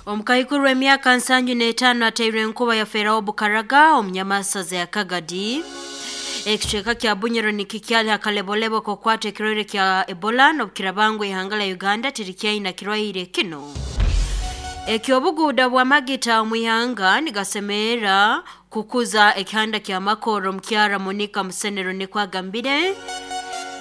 Omukaikuru w'emyaka 75 ateirwe enkuba yafeeraho Bukaraga omunyamasaza ya Kagadi. Ekicweka kya Bunyoro nikikyali hakalebolebo kokwata ekirwaire kya Ebola n'obukirabangu ihanga la Uganda tirikyaina kirwaire kino. Ekyobuguuda bw'amagita omu ihanga nigasemerera kukuza ekihanda kya Makoro omukyara Monica Musenero nikwo agambire.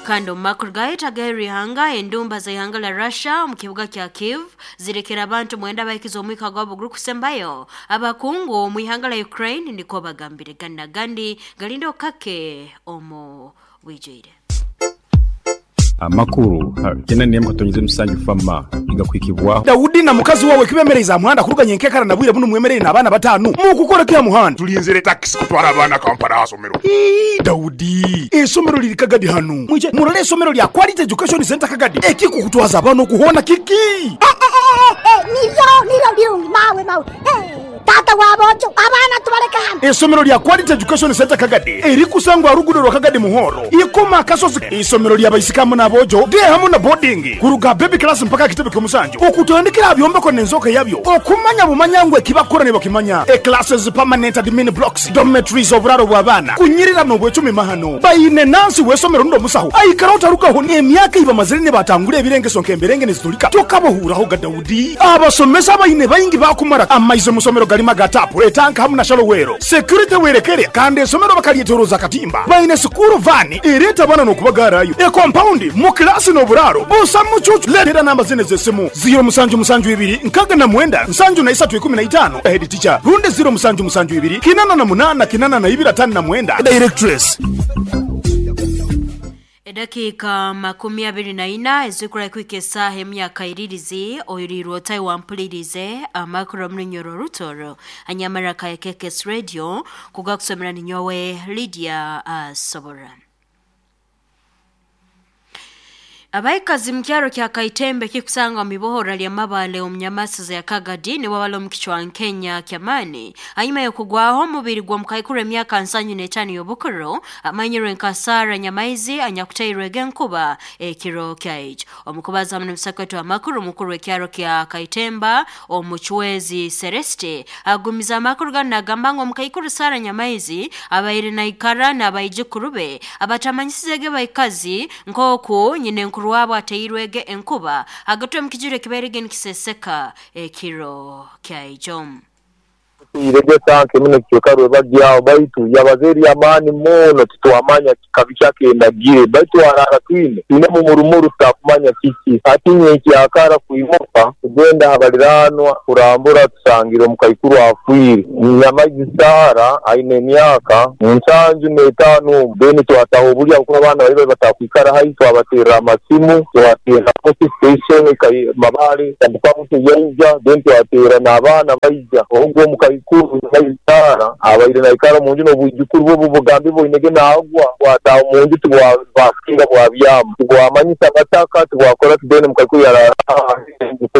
Kandi omu makuru gaheta ihanga endumba za ihanga la Russia omu kibuga kya Kiev zirekera abantu 9 bahikiza omwika gwabo gurukusembayo. Abakungu omu ihanga la Ukraine niko bagambire gana gandi galindo kake omu bwijwire. Amakuru kena nemu katonyize musanju fama igakwikibwaho. Daudi na mukazi wawe kibemereza muhanda kuruganya enkekara na bwire buno mwemerere n'abaana 5 mukukora kya muhanda. Tulinzire taxi kutwara abaana Kampala asomero. Daudi, esomero liri Kagadi hano. Mwije murole esomero lya Quality Education Center Kagadi. Ekikukutwaza abaana okuhona kiki? Niryo birungi mawe. Tata wabojo abaana tubaleka hano. Esomero lya Quality Education Center Kagadi erikusangwa rugudo rwa Kagadi Muhoro. Ikoma kasozi. Isomero lya baisikamu n'abojo de hamu na boarding kuruga baby class mpaka kitebe ky'omusanju. Okutandikira byombeko n'enzoka yabyo. Okumanya bumanyangwe kibakora ne bakimanya. E classes permanent admin blocks, dormitories oburaro bw'abaana. Kunyirira n'obwecumi mahano. Bayine nansi w'esomero ndo musaho. Aikara otarukaho n'emyaka ibamazire ne batangura ebirengeso nk'emberenge nezitulika. Tokabohuraho ga Daudi. Abasomesa bayine bayingi bakumara amaize musomero galima gatapu etanka hamu na shalowero. Security werekere kandi esomero bakalyeteroza katimba. Bayine sukuru vani ereta bana n'okubagarayo. E compound mu klasi n'oburaro busa mucucu. Leetera namba zine z'essimu 072 69 73 15 head teacher runde 072 88 82 59 directress. Edakika 24 ezikura kwike saha emyaka iririzi oyirirwa otayi wampulirize amakuru omurunyoro rutoro anyamara ka KKS Radio kugakusomera ninyowe Lydia Sobora. Abaikazi mkyaro kya Kaitembe kikusanga mibohora lya mabale omunyamasiza ya Kagadi ni wabalo mkichwa Kenya kyamani anyuma yokugwaho omubiri gwa mukaikuru emyaka 75 y'obukuru amanyirwe nkasara nyamaizi anyakutairwe genkuba ekiro kya omukubaza mu msakwetu amakuru mukuru w'ekyaro kya Kaitemba omuchwezi Celeste agumiza amakuru ganagamba ngo omukaikuru Sara Nyamaizi abaire naikara n'abaijukuru abatamanyisizege baikazi nkoku nyine nkuru wabo ateirwege enkuba agatwe mukijure kiberege nikiseseka ekiro kya ijom. Irege tanke mune kiyokarwe bagyao baitu yabazeri amani muno titwamanya kikabi kyakendagire baitu arara twine ine mu murumuru tutakumanya kiki atinye ekyakara kuimuka kugenda habaliranwa kurambura tusangire omukaikuru afwire Nyamaizi Sara aine emyaka 75 beni twataho obulya kuba abaana bari batakwikara hai twabaterera amasimu twatera police station mabale tandika yaija then twatera n'abaana baija ogwo omukaikuru Sara abaire naikara munju n'obwijukuru bwo bugambi bwinege naagwa wataho munju tibwasinga bwabyama tibwamanyisa bataka tibwakora tudene mukaikuru yarara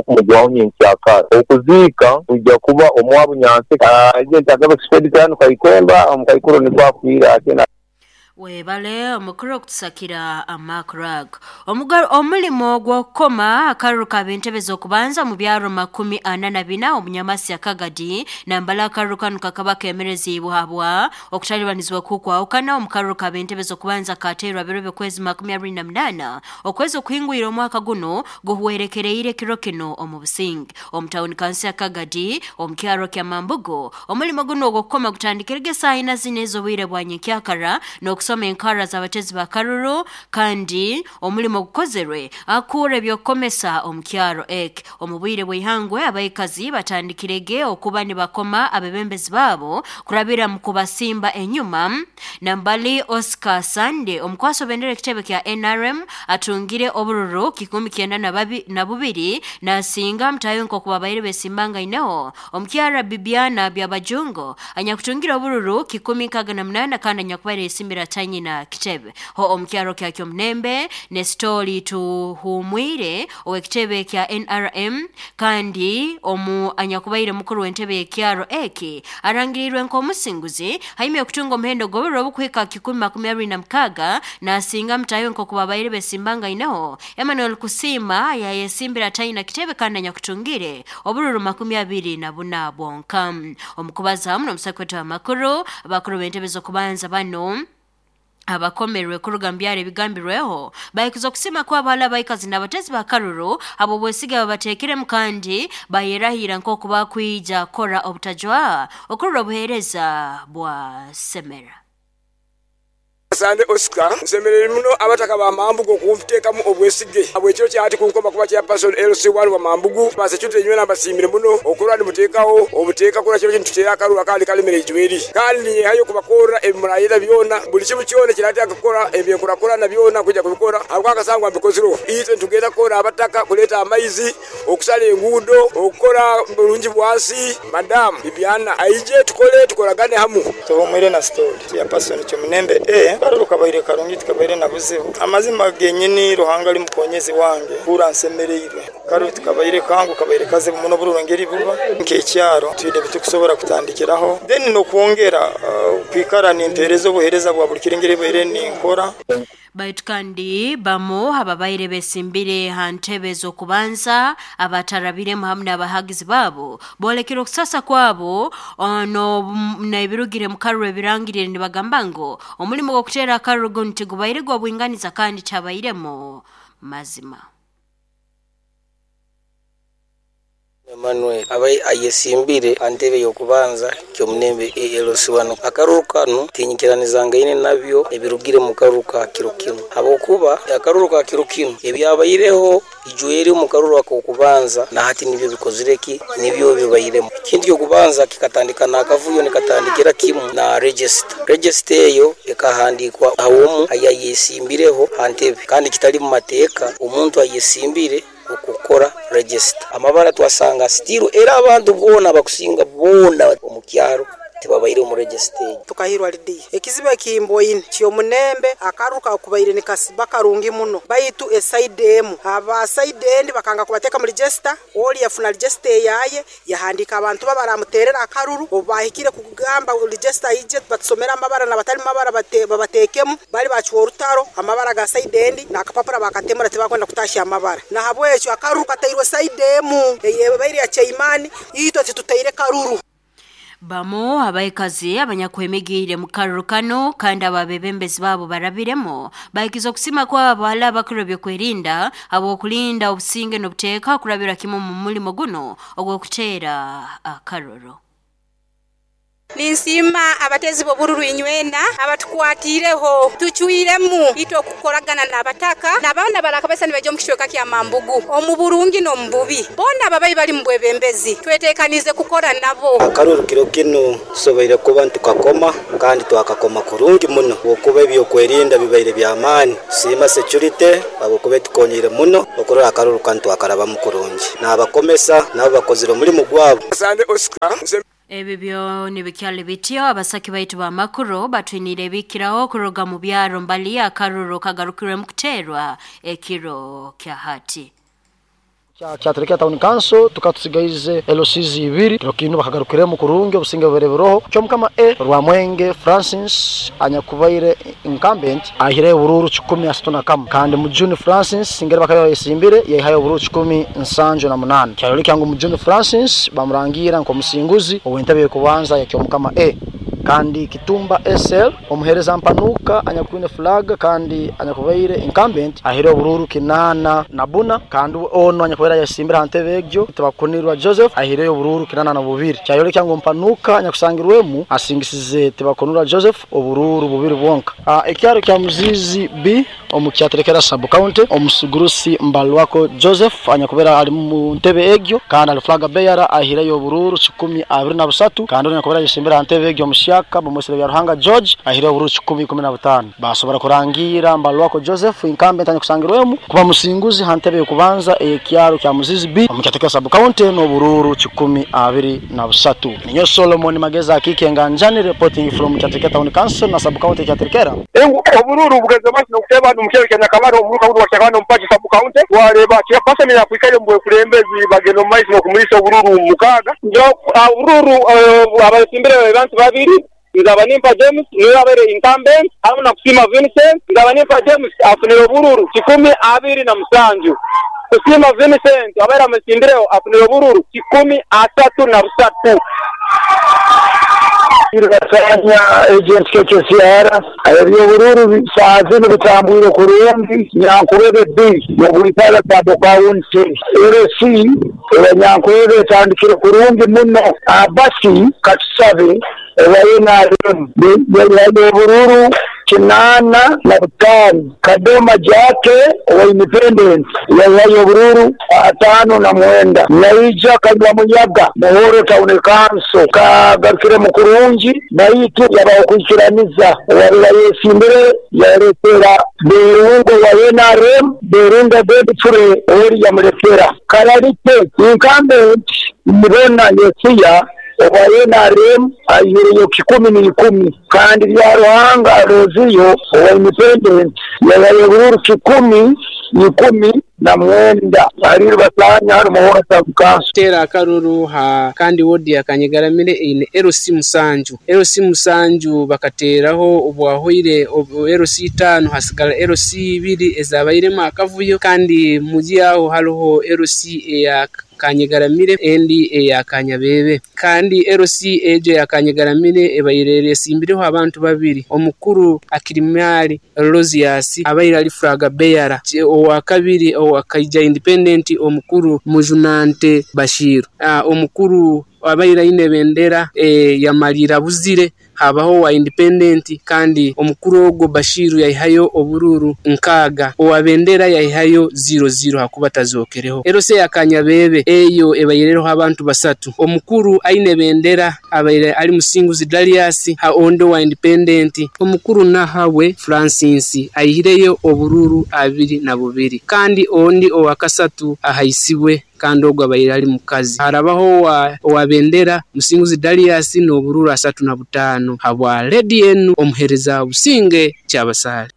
kumugwaho nyenkyakara okuziika kujja kuba omwabu nyanse agaba expedition Kaikemba omukaikuru nikwo akwira ate. Webale omukuru okutusakira amakurag. Omulimo gw'okukoma akaruru ka bentebe z'okubanza mu byaro 44 omunyamasi ya Kagadi nambala akaruru kanu kakaba kemerezibwa okutalibanizibwa kukwawukana omukaruru ka bentebe z'okubanza kateerwa biro by'okwezi 28 okwezi okuhingwira omwaka guno guhwerekereire kiro kino omu businge omutawuni kansi ya Kagadi omukyaro kya Mambugo. Omulimo guno ogw'okukoma gutandikirege saaha ina zine ez'obwire bwa nyenkyakara n'okusoma enkara z'abatezi ba karuru kandi omulimo gukozerwe akura ebyokukomesa omukyaro ek omubwire bw'ihangwe abaikazi batandikirege okuba nibakoma abebembezi baabo kurabira mu kubasimba enyuma. Nambali Oscar Sande omukwaso bendera ekitebe kya NRM atungire obururu 92 nasinga mtayo nkokuba baire besimbanga ineho omukyara Bibiana Byabajungo anyakutungira obururu 168 kandi anyakubaire esimbira Tanyina kitebe ho omukyaro kya Kyomnembe Nestori Tuhumwire owekitebe kya NRM kandi omu anyakubaire mukuru w'entebe y'ekyaro eki arangirirwe nk'omusinguzi haimye okutunga omuhendo gw'oburo obukuhika 126 nasinga mutayo nkokubabaire besimbanga ineho Emmanuel Kusima yayesimbira Tanyina kitebe kandi anyakutungire obururu 24 bwonka. Omukubaza hamwe n'omusakwete w'amakuru abakuru b'entebe z'okubanza bano abakomerwe kuruga mbyare ebigambirweho bayikuza okusima kwa abala abaikazi n'abatezi ba karuru abo bwesiga babateekiremu kandi bayerahira nk'oku bakwija kora obutajwa okurura obuheereza bwa semera. Sande Oscar nsemerere muno abataka ba Mambugu okunteekamu obwesige abwekiro kyati kunkoma kuba chairperson LC1 wa Mambugu ba security nywena mbasiimire muno okurwa nimuteekawo obuteeka kura kiro kintu tutera akaruru akandi kalemere ijweri kandi ninyehayo kubakorra ebimurayira byona buli kimu kyona kirataka kukora ebyenkurakura na byona kujja kubikora ahabwa akasangwa mbikozirwe itwe ntugenda kukora abataka kuleeta amaizi okusala enguudo okukora bulungi bwansi. Madam Bibiana aije tukole tukoragane hamu. Tuhumwire na story chairperson Kyomunembe a karuru kabaire karungi tukabaire na buzibu amazima genyini Ruhanga ali mukonyezi wange kura nsemereirwe karuru tukabaire kangu kabaire kazibu muno bururongeri buba nkekyaro twine bitukusobora kutandikiraho then no kwongera kwikara nimpereza obuhereza bwa buli kirengere baire ninkora. Baitu kandi bamo ababaire besimbire hantebe z'okubanza abatarabiremu hamwe n'abahagizi babo bolekera okusasa kwabo ono n'ebirugire mu karuru ebirangirire nibagamba ngo omulimu gw'okuteera akaruru guno tigubaire gw'obwinganiza kandi kyabairemu mazima. Emmanuel abai ayesimbire antebe yokubanza Kyomunembe LC1 akaruru kano tinyikiranizangaine nabyo ebirugire mu karuru ka kiro kino habwokuba akaruru ka kiro kino ebyabaireho ijweri mu karuru akokubanza na hati nibyo bikozireki nibyo bibairemo. Ikindi yokubanza kikatandika nakavuyo nikatandikira kimu na register eyo ekahandikwa awomu ayayesimbireho antebe kandi kitali mu mateeka omuntu ayesimbire okukora register amabara twasanga stiru era abantu bona bakusinga bona omukyaro tibabaire mu register. Tukahirwa lidiya ekizibu kimboine Kyomunembe akaruka kubaire nikasiba karungi muno baitu esaide emu aba saide endi bakanga kubateka mu register oli yafuna register yaye yahandika abantu babaramuterera akaruru obahikire kugamba register ije batusomera amabara nabatali mabara babatekemu bali bachuwa orutaro amabara ga saide endi nakapapura bakatemura tibakwenda kutashya amabara na habwekyo akaruru katairwe saide emu eyebaire ya Chaimani itwe titutaire karuru. Bamo abaikazi abanyakwemigire mu karuru kano kandi ababebembezi babo barabiremo bayikiza okusima kwa abala abakuru byokwerinda abo kulinda obusinge n'obuteeka kurabira kimu mu mulimo guno ogw'okuteera akaruru. Ninsima abatezi b'obururu inywena abatukwatireho tuchuiremu ito kukoragana n'abataka n'abaana barakabesa nibaje mu kishweka kya Mambugu omu burungi n'omububi bona ababayi bali mu bwebembezi twetekanize kukora nabo. Akaruru kiro kino tusoboire kuba ntukakoma kandi twakakoma kurungi muno okuba ebyokwerinda bibaire by'amaani. Tusiima security abokuba tukonyire muno okurora akaruru kandi twakarabamu kurungi n'abakomesa nabo bakozire omulimu gwabo. Ebibyo nibikyali bityo abasaki baitu ba makuru batwinire bikiraho kuruga mu byaro mbali akaruru kagarukirwe mu kuterwa ekiro kya hati. Kyatereka town council tukatusigaize LCs ibiri kirokino bakagarukiremo kurungi obusinge bubereberoho Kyomukama A Rwamwenge Francis anyakubaire incumbent ahire obururu 161 kandi mu June Francis singere bakaba yesimbire yahaye obururu 178 kyaroleka ngu mu June Francis bamurangira nko musinguzi owentebe kubanza ya Kyomukama A. Kandi Kitumba SL omuhereza mpanuka anyakwine flag kandi anyakubaire incumbent ahire obururu 84 kandi ono anyakubaire yasimbira hantebe egyo tibakunirwa Joseph ahire obururu 82 kyayoleka ngu mpanuka anyakusangirwemu asingisize tibakunirwa Joseph obururu bubiri bwonka. Ekyaro kya Muzizi B omukyaterekera sub county omusugurusi Mbalwako Joseph anyakubaire ali mu ntebe egyo kandi ali flag bearer ahire obururu 123 kandi anyakubaire yasimbira hantebe egyo. omuhyaka bamwesere Byaruhanga George ahireho obururu 115. Basobora kurangira Mbalwako Joseph incumbent anyakusangirwemu kuba musinguzi ha ntebe y'okubanza ey'ekyaro kya Muzizi B omu Kyaterekera sub county n'obururu 123. Ninyo Solomon Mageza Akike Nganjani reporting from Kyaterekera Town Council na sub county Kyaterekera. Obururu bugeze maiso n'okuteeba omu kyaro kya Nyakabare omuruka gunu gwa Kyakabare omu Paki sub county wareba chairperson yakwikaire omu bwekulembezi bagenda omu maiso n'okumulisa obururu 6. Obururu abayesimbire abantu babiri, Nzabanimpa James niwe abaire incumbent hamu na Kusiima Vincent. Nzabanimpa James afunire obururu 127. Kusiima Vincent abaire amusimbireho afunire obururu 133. Basanya agent KKCR eby'obururu saaha zinu bitambwire kurungi. Nyankurebe B y'obwikara sub county LC eya Nyankurebe etandikire kurungi muno. Abasi katusabe ewa NRM y'obururu 85. Kadoma Jake owa Independence yahayo obururu 59. Naija Kanywa Muyaga Muhoro Town Council kagarukiremu kurungi baitu yabaho kwikiraniza owabire ayesimbire yaletera Berungo wa NRM Berungo Godfrey ori yamuletera Kararite incumbent Nibona Yosiya owa NRM aihireyo 110 kandi Byaruhanga Roziyo owa Independent yahayo obururu 119. Ariru basanya harimu Muhoro Town Council. Tera akaruru ha kandi wodi ya Kanyegaramire eine LC 7. LC 7 bakateraho obwahoire LC 5 hasigala LC 2 ezabairemu akavuyo kandi muji aho hariho LC eya Kanyegaramire endi eya Kanyabebe kandi LC ejo ya Kanyegaramire ebaire esimbireho abantu babiri, omukuru Akirimali Rosias abaire ali flag bearer, owa kabiri owa Kaija Independent omukuru Mujunante Bashir, omukuru abaire aine bendera yamalira buzire habaho wa Independent kandi omukuru ogwo Bashiru yaihayo obururu 6, owa bendera yaihayo 00 hakuba tazokereho. LC ya Kanyabebe eyo ebaireho abantu basatu, omukuru aine bendera abaire ali Musinguzi Darius ha ondo wa Independent, omukuru Nahawe Francis aihireyo obururu 22 kandi ondi owa kasatu ahaisibwe kandi ogwo abaire ali mukazi. Harabaho owa bendera Musinguzi Darius n'obururu 35 habwa Lady enu omuhereza Businge Kyabasale.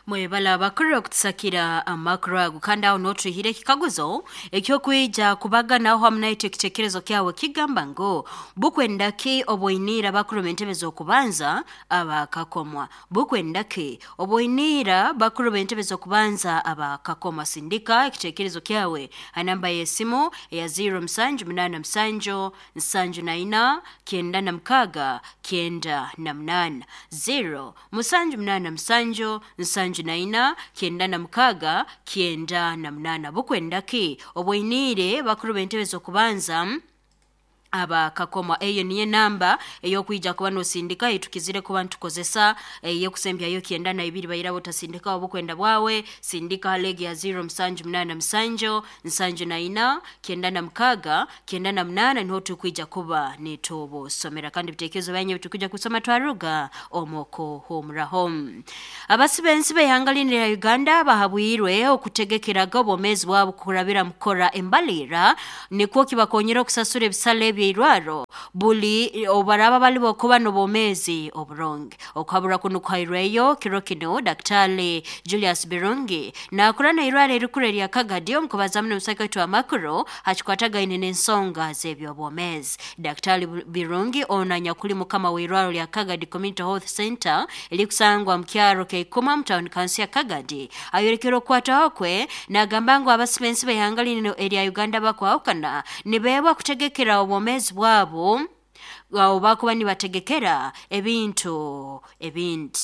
Mwebala bakuru okutusakira amakuru ago kandi aho notuhire ekikaguzo ekyokwija kubaganaho hamu naitwe ekitekerezo kyawe kigamba ngu bukwendaki oboinira bakuru b'entebe z'okubanza abakakomwa. Bukwendaki oboinira bakuru b'entebe z'okubanza abakakomwa. Sindika ekitekerezo kyawe ha namba y'esimu eya 0787 74 96 98 0 787 74 96 98. Bukwendaki oboinire bakuru b'entebe z'okubanza abakakoma. Eyo niyo namba eyokwija kuba nosindika etukizire kuba ntukozesa eyokusembyayo 92 bayirabo tasindika obukwenda bwawe. Sindika legi ya 0787 74 96 98 niho tukwija kuba nitubusomera kandi bitekerezo byanyu tukwija kusoma twaruga omoko homuraho. Abasibensi b'ihanga lya Uganda bahabwirwe okutegekeraga obwomezi bwabo kurabira mukora embalira nikwo kibakonyera okusasura ebisale eby'eirwaro buli obaraba bali bokuba n'obwomezi oburungi. Okuhabura kuno kuhairweyo kiro kino Daktari Julius Birungi nakora n'eirwaro erikuru erya Kagadi omukubazamu n'omusaka waitu amakuru hakikwatagaine n'ensonga z'ebyobwomezi. Daktari Birungi ono anyakuli mukama w'eirwaro lya Kagadi Community Health Center erikusangwa mu kyaro Keikuma mu town council ya Kagadi ayorekera okukwataho kwe nagamba ngu abasibensi b'ihanga lino erya Uganda bakwahukana nibeebwa kutegekera obwomezi bwabo bakuba nibategekera ebintu ebindi.